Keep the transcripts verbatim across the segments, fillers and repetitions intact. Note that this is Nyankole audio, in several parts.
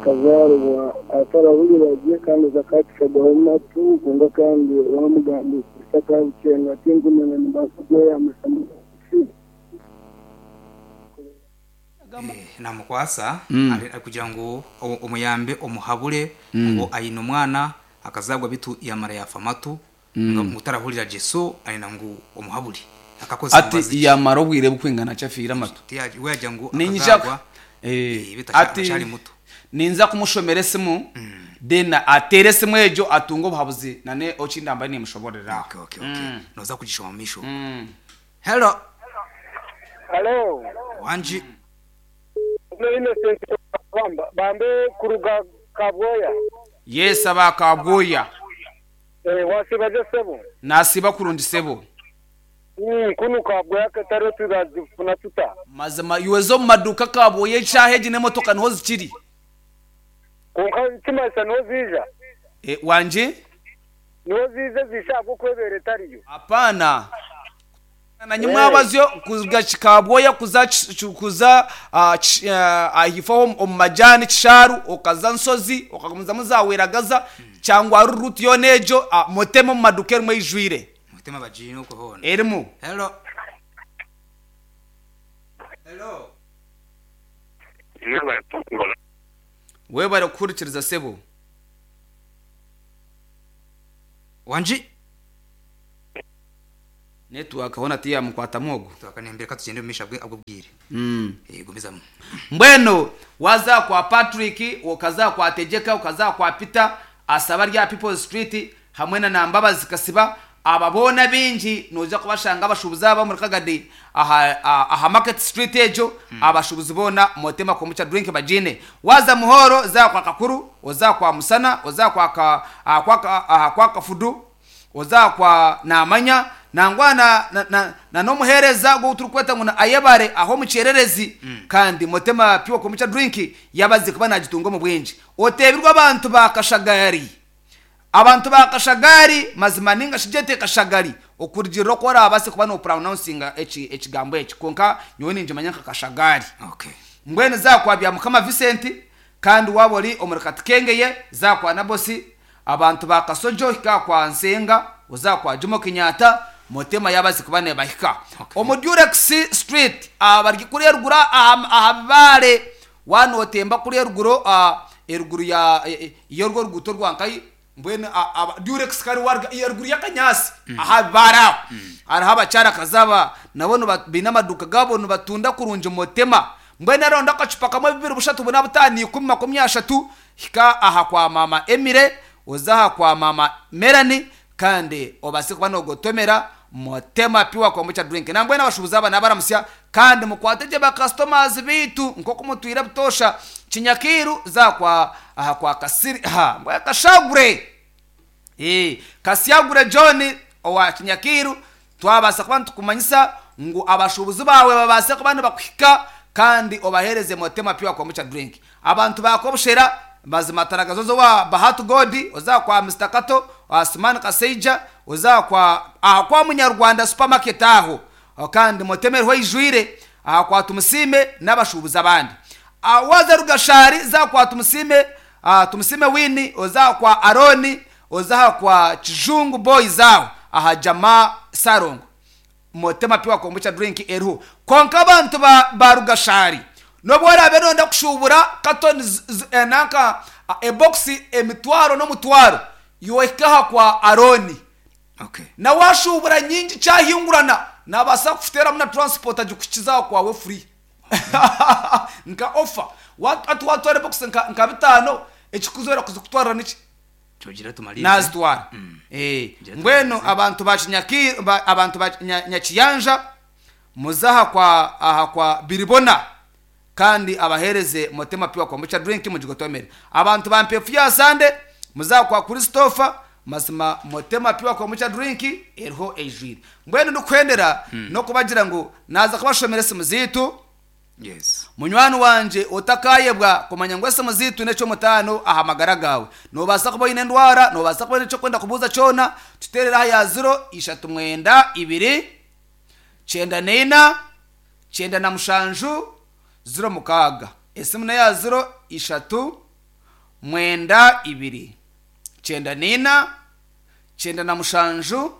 Akazaaribwa atarahurira gye, kandi zakakishagaho matu, kwonka kandi bamugambira akabukyenga, tinkumanya nimbaasa kweyambisa. Eh, namukwasa ari- ari kugira ngo o- omuyambe, omuhabure ngo ayine omwana akazagwa bitu yamara yafa amatu, ngo utarahurira Jesu ayina ngu omuhabure akakoze. Ati yamara obwire bukwingana kyafiire amatu? We yajya ngo Ninja akazagwa Eh, eh, bitu ati acyari muto. Ninza kumushomera esimu, then atere esimu egyo atunge obuhabuzi nane okindamba nimushoborera. okay okay okay noza kugishoma misho. Hello. Hello. Wanji. No Innocent Bamba bambe kuruga Kabwoya. Yes, abakabwoya. Eh, wasibaje sebo? Nasiba kurungi sebo. Mm, kunu Kabwoya kataro tugazifuna tuta. Mazima iwezo omu maduuka kabwoya eshaaha egi n'emotoka niho zikiri. Konka kimasa niho zija. Eh, wanje. Niho zize zishaka kwebera etariyo. Hapana, na nyimwabazyo kuga Kabwoya kuza Ch- kuza ah, Ch- ah, ahifaho omu majani Kisharu, okaza Nsozi, okagumizamu zaweragaza cyangwa ari ruti yona egyo, ah, mutema omu maduuka erimu eijwire. Mutima bajino kuhona. Erimu. Hello, hello. Webare kuhurikiriza sebo. Wanji. Network hona tiyamukwata ogu. Tuwakanembera katugende mumisha bwe abwo bwire. mm. Eh, gumizamo. Mbwenu waza kwa Patrick, ukaza kwa Tegeka, ukaza kwa Peter asaba rya People Street hamwe na Nambabazi Kasiba, aba boona bingi noja kubashanga abashubuzi aba muri Kagadi aha, aha, aha Market Street ejo mm. Abashubuzi boona motema kombucha drink bajine. Waza Muhoro, za kwa Kakuru, oza kwa Musana, oza kwa ka, ah, kwa ka, aha, kwa Kafudu, oza kwa Namanya nangwa na, na, na, na nomuhereza gwo turikweta ngo na ayebare aho mucererezi mm. Kandi motema pure kombucha drink yabaze kuba nagitunga mu bwinji. Otebirwa abantu ba Kashagari, abantu ba Kashagari mazima ninga shijete Kashagari okurugirira ko orabase kuba no pronouncinga eki ekigambo eki, konka nyowe ninjimanya nka Kashagari. Okay. Mbwenu zakwa bya Mukama Vincent, kandi waba ori omuri Katikengeye zakwa na bosi abantu ba Kasojo hika kwa Nsenga, uzakwa Jomo Kenyatta, motema yabazi kuba nebahika. Okay. Omu Durex Street abari kuri eruguru aha aha bibare wanotemba kuri eruguru, ah, eruguru ya yorwo ruguto rwankai. Mbwenu a- aba- Durex kari warga eruguru yakanyasi aha bibare aho hariho abakyara kazaba nabo niba- biine amaduka gabo nibatunda kurungi motema. Mbwenu aronda akacupa kamwe, bibiri, bushatu, buna, butaano, ikumi, makumi ashatu, hika aha kwa mama Emire, oza aha kwa mama Melanie, kandi obase kuba nogotomera motema pure kombucha drink. Nambwenu abashubuzi aba nabaramusya kandi mukwate gye bakasitomazi bitu nkoku mutwire butosha. Kinyakiru za kwa aha kwa Kasiri ha mbwe Kashagure. Eh, Kasyagure John owa Kinyakiru, twabasa kuba nitukumanyisa ngu abashubuzi bawe babase kuba nibakuhika kandi obahereze motema pure kombucha drink. Abantu bakobushera mazima taragazozo wa Bahatu Godi, oza kwa Mister Kato Asman Kaseija, oza kwa aha kwa Munyarwanda supermarket aho. Aho kandi motemerho ijwire aha kwa Tumusime n'abashubuzi abandi. Ah, waza Rugashari za kwa Tumusime, ah, Tumusime Wini, oza kwa Aroni, oza kwa Kijungu Boys aho aha Jama Sarongo, motema pure kombucha drink eriho. Konka abantu ba, ba Rugashari nobwo orabe nonda kushubura katoni z- z- eh, nanka ah, ebokisi emitwaro n'omutwaro, yohikaha kwa Aroni. Okay. Na washubura nyingi cyahingurana nabasa kufuteramu na transport agikukizaho kwawe free nka offer. Wat- ati watwara box nka, nka bitano, ekikuzora kuzikutwarira niki? Tugira tumalize. Nazitwara. Eh, Ngira mbwenu tumalize. abantu ba Kinyaki- ba- abantu ba Nya- Nyakiyanja muzaha kwa aha kwa Biribona kandi abahereze motema pure kombucha drink mugigotomere. Abantu ba Mpefu ya Sande muzaha kwa Christopher, mazima motema pure kombucha drink eriho ejwire. Mbwenu ndikwendera no kubagira ngu naza kubashomera esimu zitu. Yes. Munywani wanje otakayebwa kumanya ngu esimu zitu nekyomutaano aha magara gawe, nobaasa kuba oine endwara, nobaasa kuba oine ekyokwenda kubuuza kyona, tuteerere aha ya ziro ishatu mwenda ibiri kyenda neina kyenda na mushanju ziro mukaaga. Esimu neya ziro ishatu Mwenda ibiri kyenda nina kyenda na mushanju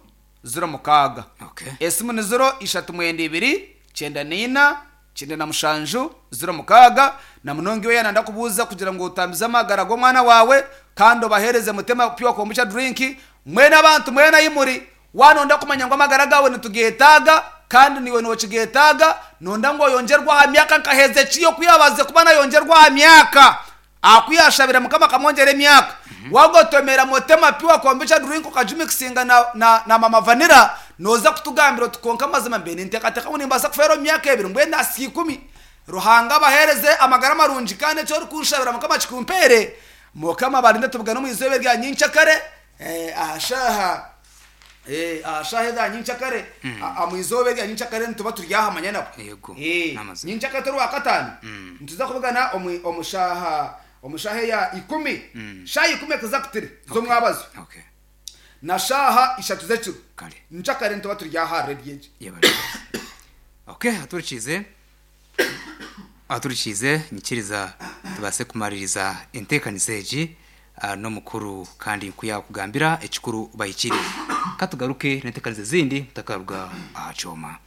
ziro mukaaga. Okay. Esimu ni ziro ishatu mwenda ibiri kyenda nina kyenda na mushanju ziro mukaaga. Na munonga iwe yana ndakubuuza kugira ngu otambize amagara g'omwana wawe kandi obahereze Mutema Pure Kombucha Drink. Mwena abantu mwena imuri wanonda kumanya ngu amagara gawe nitugetaaga kandi niwe nokigetaaga, nonda ngu oyongerwa aha myaka nka Hezekiya okuyabaze kuba nayongerwa aha myaka akuyashabira Mukama akamwongera emyaka. Wagotomera Mutema Pure Kombucha Drink okagimikisinga na, na, na Mama Vanilla, noza kutugambira oti konka amazima mbe ninteekateeka ngu nimbaasa kufeera omu myaka ebiri, mbwenu nasika ikumi. Ruhanga abahereze amagara marungi kandi ekyo orikunshabira Mukama kikumpere. Mukama barinde, tubugane omu izooba erya nyincakare eh, aha shaaha eh, aha shaaha eza nyincakare, omu izooba erya nyincakare nituba turi ahamanya nabo. Yego, Eh, n'amazima. Nyincakare turi wakataano, nituza kubugana omu omu shaaha omu shaaha eya ikumi, shaaha ikumi exactly z'omwabazo Okay. na shaaha ishatu z'ekiro. Kale. Nyincakare nituba turi aha rediyo egi. Yebale. Okay, aturikize aturikize nyikiriza tubase kumaririza enteekaniza egi ah, n'omukuru kandi nkuyakugambira ekikuru bahikire. Katugaruke n'enteekaniza ezindi mutakaruga aha kyoma.